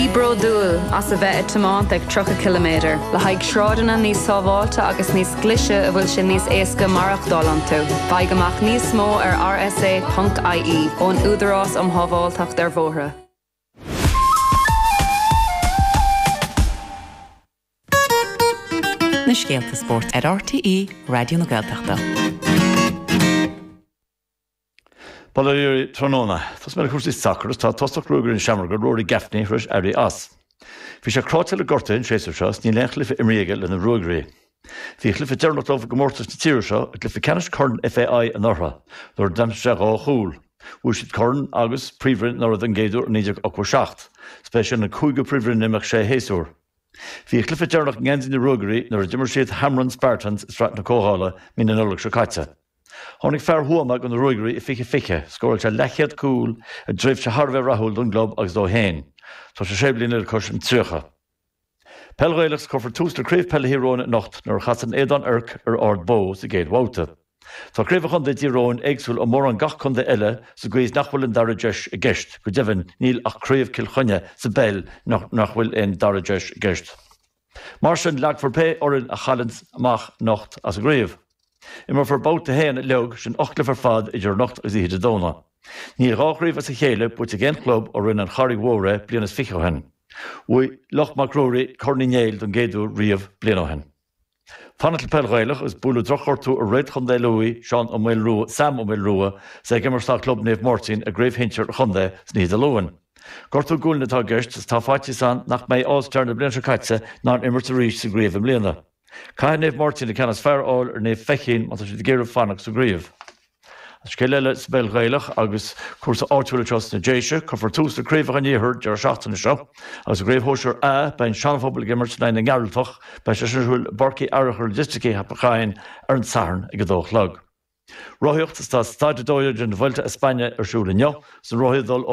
Bí bródúil as a bheith ag tiomáint ag 30 ciliméadar le haghaidh sráideanna níos sábháilte agus níos glaise a bhfuil sé níos éasca maireachtáil iontu. Faigh amach níos mó ar rsa.ie ón Údarás um Shábháilteacht ar Bhóithre. Na scéalta spóirt ar RTÉ Raidió na Gaeltachta. Bail ó Dhia oraibh tráthnóna. Tosóidh mé le cúrsaí sacair agus tá tosach Ruagairí na Seamróige, Rory Gaffney, tar éis éirí as. Bhí sé cráite le gortuithe an séasúr seo is níl aon chluiche imrithe aige le na Ruagairí. Bhí a chluiche deireanach dóibh i gcomórtas na tíre seo i gcluiche ceannais Corn FAI anuraidh nuair a d'aimsigh sé dhá chúl. Bhuaigh siad corn agus príomhroinn anuraidh don gcéad uair i 1987. Is b'é sin an cúigiú príomhroinn in imeacht sé shéasúr. Bhí a chluiche deireanach i ngeansaí na Ruagairí nuair a d'imir siad Hamrun Spartans i Sraith na Comhdhála mí na Nollag seo caite. Tháinig fear Thuama go na Ruagairí i 2020, scóráil sé leathchéad cúl i dtréimhse thar a bheith rathúil don gclub agus dó féin. Tá sé sé bliana le cois an 30. Peil Ghaelach 's cuirfear tús le Craobh Peile Thír Eoghain anocht nuair a chasann Aodán Oirc ar Ard Bó sa gcéad bhabhta. Tá Craobh an Chontae i dTír Eoghain éagsúil ó mórán gach contae eile sa gcaoi is nach bhfuil an dara deis i gceist, go deimhin níl ach Craobh Cill Chainnigh sa bpeil nach bhfuil aon dara deis i gceist. Mar sin, leagfar pé fhoireann a chailleanns amach anocht as an gcraobh. Imreofar babhta a haon uilig, sin 8 gcluiche ar fad idir anocht agus oíche Dé Domhnaigh. Níl dhá chraobh as a chéile buaite ag aon chlub ó rinne an Charraig Mhór é bliain is fiche ó shin. Bhuaigh Loch Mac Ruairí Corn Uí Néill don gcéad uair riamh bliain ó shin. Fanacht le peil Ghaelach agus buaileadh drochghortú ar réalt chontae Lú, Seán Ó Maolrua, Sam Ó Maolrua, is é ag imirt dá chlub Naomh Máirtín i gcraobh shinsir an chontae san oíche Dé Luain. Gortú gualainne atá i gceist is tá faitíos ann nach mbeidh All Star na bliana seo caite in ann imirt arís sa gcraobh i mbliana. Caithfidh Naomh Máirtín an ceann is fearr a fháil ar Naomh Feichín má tá siad ag iarraidh fanacht sa gcraobh. Scéal eile sa bpeil Ghaelach agus cúrsa áitiúil anseo sna Déise, cuirfear tús le Craobhacha an Iarthair deireadh seachtaine seo agus i gCraobh Shóisir A beidh an Seana-Phobal ag imirt in aghaidh na nGearaltach. Beidh sé sin ar siúl i bPáirc Uí Fhearchair Logistics i Theach Laighean ar an Satharn ag a dó a chlog. Rothaíocht, Tá Staid 12 den Vuelta a España ar siúl inniu. Is na rothaí ag dul ó.